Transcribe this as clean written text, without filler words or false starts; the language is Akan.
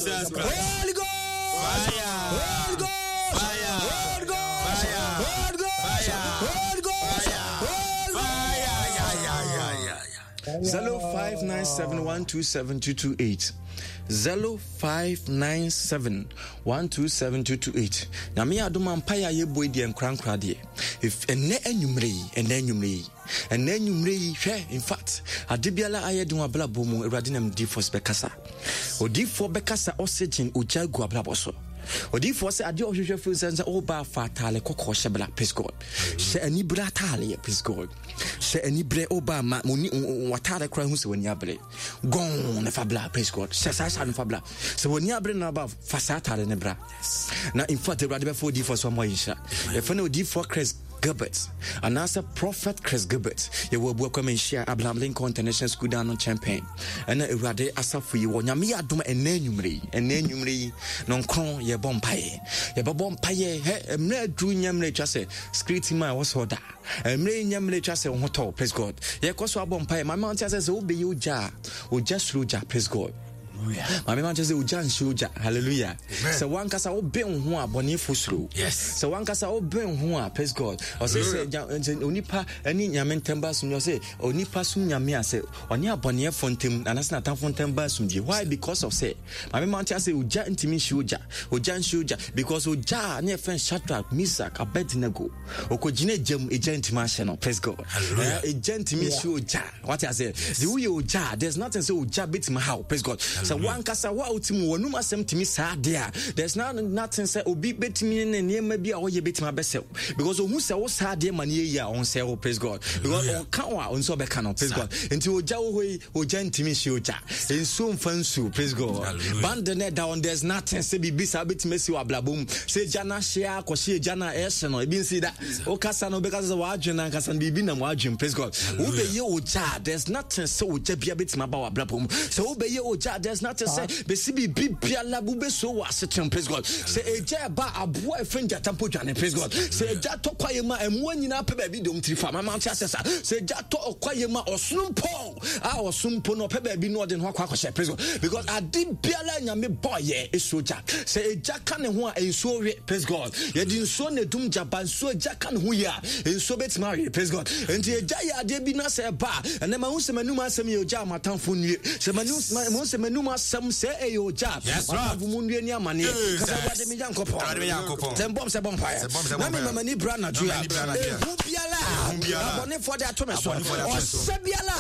Jesus Christ. Holy Ghost. Fire. Holy Ghost. Fire. Holy Ghost. Fire. Holy Ghost. Fire. Holy Ghost. Fire. Holy Ghost. Fire. Yeah, yeah, yeah, yeah, yeah. 0597127228 0597127228 Nyame yɛ adom a mpaeɛ a yɛbɔ yi deɛ nkorankora deɛ ɛnɛ anwummerɛ yi, ɛnɛ anwummerɛ yi, ɛnɛ anwummerɛ yi, hwɛ, in fact, ade biara ayɛ den wɔ abrabɔ mu, Awurade nam difoɔ so bɛkasa. Odifoɔ bɛkasa oxygen ogya gu abrabɔ so. Odifoɔ sɛ adeɛ ɔhwehwɛ firi sɛ sɛ ɔba afa ataale kɔkɔɔ hyɛ bla, praise God. Hyɛ anibere ataaleɛ, praise God. Hyɛ anibere ɔba ma moni wataale koraa hu sɛ w'ani abere. Gɔn ne fa bla, praise God. Hyɛ saa hyɛ no fa bla. Sɛ w'ani abere na ba fa saa ataale ne bra. Na in fact Awurade bɛfa odifoɔ so ama yɛ nhyira. Yɛfrɛ no odifoɔ Chris Gilbert anaasɛ Prophet Chris Gilbert. Yɛwɔ Abuakwa Manhyia Abraham Lincoln International School dan no nkyɛn pɛn. Ɛna Awurade asafo yi wɔ Nyame yɛ adom ɛnɛ anwummere yi, ɛnɛ anwummere yi nɔnkron yɛbɔ mpaeɛ. Yɛbɛbɔ mpaeɛ hɛ mmerɛ aduru nyɛ mmerɛ atwa sɛ security man wɔ sɛ ɔda. Mmerɛ nyɛ mmerɛ atwa sɛ wo ho tɔ, praise God. Yɛkɔ so abɔ mpaeɛ. Maame ɔnte asɛ sɛ wobɛyɛ ogya a, ogya suro gya, praise God. Maame ma kyerɛ sɛ ogya nhyɛ ogya, hallelujah. Sɛ wankasa wobɛn ho a bɔnefo suro. Sɛ wankasa wobɛn ho a, praise God. Ɔsɛ sɛ onipa ne Nyame ntam ba asomdwe, ɔsɛ onipa som Nyame a sɛ ɔne abɔneɛfo ntam anaasɛ n'atamfo ntam ba asomdwe. Why? Because of sɛ maame ma nte asɛ ogya ntumi nhyɛ ogya, ogya nhyɛ ogya because ogya a ne yɛfrɛ Shadrach, Meshach, Abednego ɔkɔgyina egya mu, egya ntumi ahyɛ no, praise God. Egya ntumi nhyɛ ogya. Wate ase? De woyɛ ogya a, there's nothing sɛ ogya bɛtumi haw, praise God. Sɛ wankasa wo a wote mu w'anum asɛm tumi saa adeɛ a, there's not, nothing sɛ obi bɛtumi ne nneɛma bi a ɔyɛ bɛtumi abɛsɛw because ohu sɛ wo saa adeɛ ma no yɛ yie a ɔnsɛe wo, praise God. Because ɔka wo a ɔnso ɔbɛka no, praise God. Nti ogya wɔ hɔ yi, ogya ntumi nhyɛ ogya, nsuo mfa nsuo, praise God. Bande no ɛda hɔ, there's nothing sɛ biribi saa bɛtumi asi wɔ abrabɔ mu sɛ egya no ahye akɔhye egya no a ɛhye no, ebi nsi da. Wokasa no wobɛkasa sɛ w'adwene ankasa no biribi nam w'adwene, praise God. Wobɛyɛ ogya a, there's nothing sɛ ogya bia bɛtumi aba w'abrabɔ mu. Sɛ wobɛyɛ ogya a, there's nothing sɛ bɛsi biribi biara wobɛsuo wɔ asetena, praise God. Sɛ egya ɛba aboa ɛfɛ ngyata mpo dwane, praise God. Sɛ egya tɔ kwaeɛ mu a, mmoa nyinaa pɛ baabi dɔm tiri fa. Mama nte asɛ sa. Sɛ egya tɔ ɔkwaeɛ mu a, ɔsono mpo a ɔsom mpo no ɔpɛ baabi na ɔde ne ho akɔ akɔhyɛ, praise God. Because ade biara Nyame bɔɔyɛ ɛsuo gya. Sɛ egya ka ne ho a, nsuo we, praise God. Yɛde nsuo na edum gya ba, nsuo gya ka ne ho yie a, nsuo bɛtumi awe, praise God. Nti egya yɛ adeɛ bi na sɛ ɛba a, ɛnɛ mahu sɛ m'anum asɛm yɛ ogya a m'atamfo nnue. Sɛ mahu sɛ m'anum asɛm sɛ ɛyɛ ogya a, m'atamfo mu nnue ne amaneɛ. Kasa Awurade me Nyankopɔn. Sɛ mbɔm sɛ bɔ mpaeɛ. Na mema m'ani bra anadwo a, ehu biara a abɔnefoɔ de ato me so, ɔhyɛ biara a